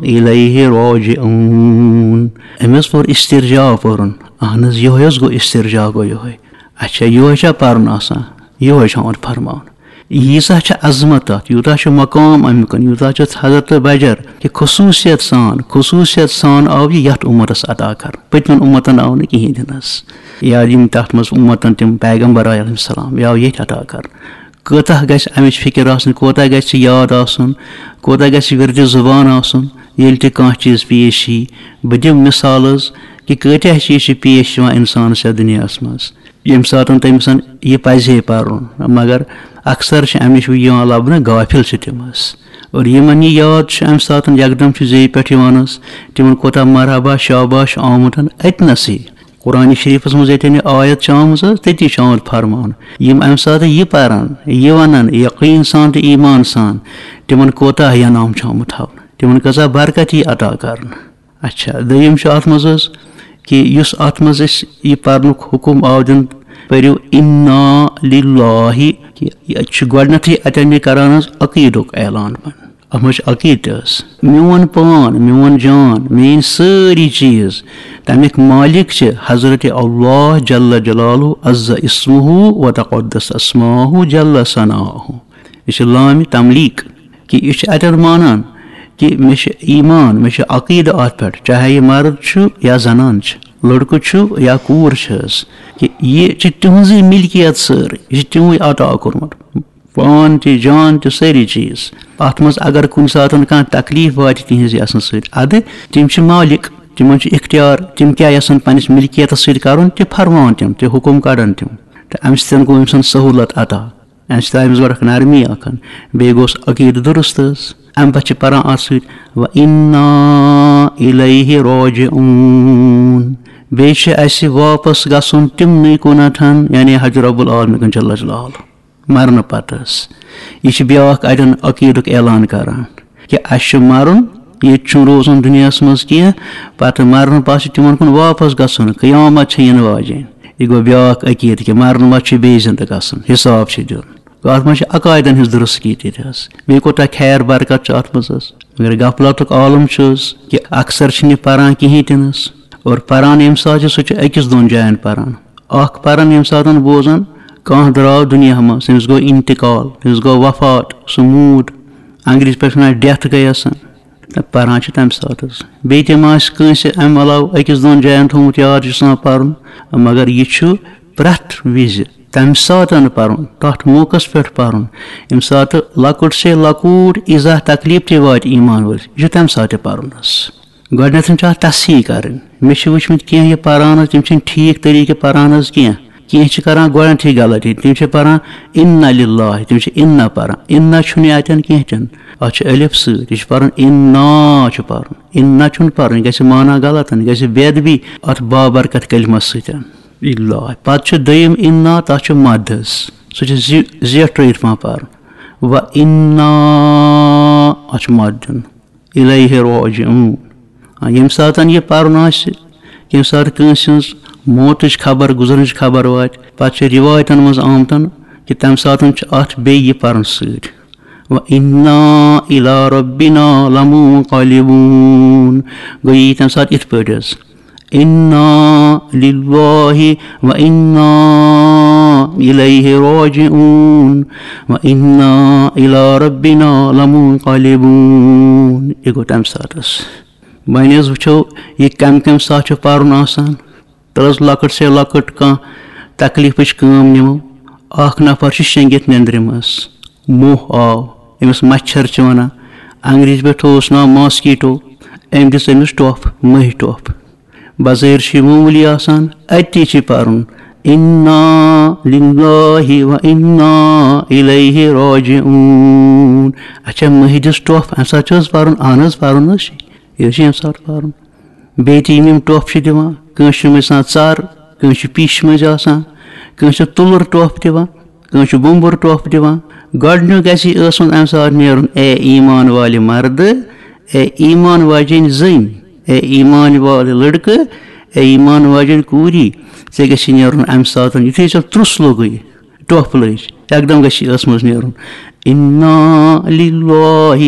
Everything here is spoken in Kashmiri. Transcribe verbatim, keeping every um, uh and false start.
الیہ راجعون۔ أمۍ حظ پوٚر استرجاع پوٚرُن۔ اہن حظ، یِہوٚے حظ گوٚو استرجاع، گوٚو یِہوٚے۔ اچھا، یِہوٚے چھا پَرُن آسان؟ یِہوٚے چھُ آمُت فرماونہٕ۔ ییٖژاہ چھِ عظمت اَتھ، یوٗتاہ چھُ مقام اَمیُک، یوٗتاہ چھُ حضرت بجر کہِ خصوٗصیت سان، خصوٗصیت سان آو یہِ یَتھ اُمتَس عطا کرنہٕ۔ پٔتمٮ۪ن اُمتَن آو نہٕ کِہیٖنۍ تہِ نہٕ حظ۔ یا یِم تَتھ منٛز اُمتَن تِم پیغمبر آے علیہ السلام، یہِ آو ییٚتھۍ عطا کرنہٕ۔ کۭژاہ گژھِ اَمِچ فِکر آسٕنۍ، کوٗتاہ گژھِ یاد آسُن، کوٗتاہ گژھِ وِردِ زُبان آسُن، ییٚلہِ تہِ کانٛہہ چیٖز پیش یی۔ بہٕ دِمہٕ مِثال حظ کہِ کۭتیٛاہ چیٖز چھِ پیش یِوان اِنسانَس یَتھ دُنیاہَس منٛز، ییٚمہِ ساتَن تٔمِس یہِ پَزِ ہے پَرُن، مگر اکثر چھِ اَمہِ نِش یِوان لَبنہٕ، غافل چھِ تِم حظ۔ اور یِمَن یہِ یاد چھُ، اَمہِ ساتَن یکدم چھُ زیٚیہِ پٮ۪ٹھ یِوان حظ، تِمَن کوٗتاہ مرحبا شاباش چھُ آمُت اَتنَسٕے۔ قرآن شریٖفَس منٛز ییٚتٮ۪ن یہِ آیت چھِ آمٕژ حظ، تٔتی چھُ آمُت فرماونہٕ۔ یِم اَمہِ ساتہٕ یہِ پَرَن، یہِ وَنَن یقیٖن سان تہٕ ایٖمان سان، تِمَن کوٗتاہ انعام چھُ آمُت تھاونہٕ، تِمَن کۭژاہ برکت یی عطا کرنہٕ۔ اچھا، دوٚیِم چھُ اَتھ منٛز حظ کہِ یُس اَتھ منٛز أسۍ یہِ پَرنُک حُکُم آو دِنہٕ، پٔرِو اِنا لِلّٰہِ، کہِ یہِ چھُ گۄڈٕنٮ۪تھٕے اَتٮ۪ن یہِ کران حظ عقیٖدُک اعلان۔ اَتھ منٛز چھُ عقیٖدٕ تہِ حظ۔ میون پان، میون جان، میٲنۍ سٲری چیٖز، تَمِکۍ مالِک چھِ حضرت اللہ جل جلالہ عز اسمہ و تقدس اسماہ جل ثناہ۔ یہِ چھِ لامِ تملیٖک، کہِ یہِ چھِ اَتٮ۪ن مانان کہِ مےٚ چھِ ایٖمان، مےٚ چھِ عقیٖدٕ اَتھ پٮ۪ٹھ، چاہے یہِ مرد چھُ یا زنان چھِ، لٔڑکہٕ چھُ یا کوٗر چھِ حظ، کہِ یہِ چھِ تِہٕنٛزٕے مِلکیت سٲرٕے، یہِ چھِ تِموٕے عطا کوٚرمُت۔ پان تہِ، جان تہِ، سٲری چیٖز۔ اَتھ منٛز اگر کُنہِ ساتَن کانٛہہ تکلیٖف واتہِ تِہِنٛزِ یَژھنہٕ سۭتۍ، اَدٕ تِم چھِ مالِک، تِمَن چھُ اختیار، تِم کیٛاہ یَژھن پنٛنِس مِلکیتَس سۭتۍ کَرُن، تہِ فرماوَن تِم، تہِ حُکُم کَڑَن تِم۔ تہٕ اَمہِ سۭتۍ گوٚو أمۍ سٕنٛز سہوٗلت عطا، اَمہِ سۭتۍ آو أمِس گۄڈٕ اَکھ نرمی اَکھ۔ بیٚیہِ گوٚوُس عقیٖدٕ درُست حظ۔ اَمہِ پَتہٕ چھِ پَران اَتھ سۭتۍ، "و اِنا اِلیہ راجعون"، بیٚیہِ چھِ اَسہِ واپَس گژھُن تِمنٕے کُنَتھَن، یعنی حضرت رب العالمین جل جلالہ۔ مرنہٕ پتہٕ حظ۔ یہِ چھِ بیٛاکھ اَتٮ۪ن عقیٖدُک اعلان کران کہِ اَسہِ چھُ مرُن، ییٚتہِ چھُنہٕ روزُن دُنیاہَس منٛز کینٛہہ، پتہٕ مرنہٕ پتہٕ چھُ تِمن کُن واپس گژھُن، قیامت چھِ یِنہٕ واجیٚنۍ۔ یہِ گوٚو بیٛاکھ عقیٖدٕ کہِ مرنہٕ پتہٕ چھُ بیٚیہِ زِندٕ گژھُن، حساب چھُ دیُن۔ گوٚو اَتھ منٛز چھِ عقایدن ہٕنٛز درستگی تہِ حظ۔ بیٚیہِ کوٗتاہ خیر برکت چھُ اَتھ منٛز حظ۔ مگر غفلتُک عالم چھُ حظ کہِ اکثر چھِنہٕ یہِ پران کِہیٖنۍ تہِ نہٕ حظ۔ اور پران ییٚمہِ ساتہٕ چھِ، سُہ چھُ أکِس دۄن جاین پران۔ اکھ پران ییٚمہِ ساتہٕ بوزان کانٛہہ درٛاو دُنیا منٛز، تٔمِس گوٚو انتقال، تٔمِس گوٚو وفات، سُہ موٗد، انگریزی پٲٹھۍ وَنان ڈیتھ گٔیَس۔ تہٕ پران چھِ تَمہِ ساتہٕ حظ۔ بیٚیہِ تہِ ما آسہِ کٲنٛسہِ اَمہِ علاوٕ أکِس دۄن جاین تھوٚومُت یاد، یہِ چھُ آسان پَرُن، مگر یہِ چھُ پرٛٮ۪تھ وِزِ تَمہِ ساتہٕ پَرُن، تَتھ موقعس پٮ۪ٹھ پَرُن، ییٚمہِ ساتہٕ لۄکُٹ سے لۄکُٹ ایٖزاہ تکلیٖف تہِ واتہِ ایٖمان وٲلِس، یہِ چھُ تَمہِ ساتہٕ تہِ پَرُن حظ۔ گۄڈٕنٮ۪تھ چھِ اَتھ تصحیح کَرٕنۍ۔ مےٚ چھِ وٕچھمٕتۍ کینٛہہ یہِ پَران حظ، تِم چھِنہٕ ٹھیٖک طریٖقہٕ پَران حظ کینٛہہ۔ کینٛہہ چھِ کَران گۄڈٕنٮ۪تھٕے غلطی، تِم چھِ پَران اِنَّا لِلّٰہِ، تِم چھِ اِنَّا پَران۔ اِنَّا چھُنہٕ یہِ اَتٮ۪ن کینٛہہ تہِ نہٕ، اَتھ چھُ الف سۭتۍ، یہِ چھُ پَرُن اِنَّا چھُ پَرُن۔ اِنَّا چھُنہٕ پَرُن، یہِ گژھِ معنی غلط، یہِ گژھِ بے ادبی اَتھ بابرکت کلمَس سۭتۍ۔ لِلّٰہِ۔ پَتہٕ چھُ دوٚیِم اِنَّا، تَتھ چھُ مَد حظ، سُہ چھُ زِ-، زیٹھرٲیِتھ پَہَم پَرُن۔ و اِنَّا، اَتھ چھُ مَد دیُن۔ اِلیہ راجعون۔ آ، ییٚمہِ ساتَن یہِ پَرُن آسہِ، ییٚمہِ ساتہٕ کٲنٛسہِ ہٕنٛز موتٕچ خبر، گُزرنٕچ خبر واتہِ، پَتہٕ چھِ رِوایتَن منٛز آمتَن کہِ تَمہِ ساتَن چھُ اَتھ بیٚیہِ یہِ پَرُن سۭتۍ۔ و اِنَّا اِلیٰ رَبِّنَا لَمُنقَلِبُونَ۔ گوٚو یہِ یی تَمہِ ساتہٕ یِتھ پٲٹھۍ حظ۔ اِنَّا لِلّٰہِ و اِنَّا اِلیہ راجعون و اِنَّا اِلیٰ رَبِّنَا لَمُنقَلِبُونَ۔ یہِ گوٚو تَمہِ ساتہٕ حظ۔ وۄنۍ حظ وٕچھو، یہِ کَمہِ کَمہِ ساتہٕ چھُ پَرُن آسان۔ تَلہٕ حظ لۄکٕٹ سے لۄکٕٹ کانٛہہ تکلیٖفٕچ کٲم نِمو۔ اَکھ نفر چھُ شیٚنٛگِتھ نیٚنٛدرِ منٛز، موہ آو، أمِس مچھر چھِ وَنان، انگریزی پٲٹھۍ تھوٚوُس ناو ماسکیٹو، أمۍ دِژ أمِس ٹۄپھ، مٔہۍ ٹۄپھ۔ بظٲہِر چھُ یہِ معموٗلی آسان، اَتی چھِ پَرُن، اِنَّا لِلّٰہِ و اِنَّا اِلیہ راجعون۔ اچھا، مٔہۍ دِژ ٹۄپھ، اَمہِ ساتہٕ چھُ حظ پَرُن؟ اَہَن حظ، پَرُن حظ چھُ، یہِ حظ چھُ ییٚمہِ ساتہٕ پَرُن۔ بیٚیہِ تہِ یِم یِم ٹۄپھ چھِ دِوان، کٲنٛسہِ چھِ مٔنٛزۍ آسان ژَر، کٲنٛسہِ چھِ پیٖشہِ مٔنٛزۍ آسان، کٲنٛسہِ چھِ تُلُر ٹۄپھ دِوان، کٲنٛسہِ چھِ بوٚمبُر ٹۄپھ دِوان۔ گۄڈٕنیُک گژھِ یہِ ٲسَن اَمہِ ساتہٕ نیرُن، اے ایٖمان والہِ مردٕ، اے ایٖمان واجیٚنۍ زٔنۍ، اے ایٖمان والہِ لٔڑکہٕ، اے ایٖمان واجیٚنۍ کوٗری، ژےٚ گژھِ نیرُن اَمہِ ساتہٕ، یُتھُے ژےٚ ترُس لوٚگُے، ٹۄپھ لٔج، یکدم گژھِ یہِ ٲسہٕ منٛز نیرُن، اِنَّا لِلّٰہِ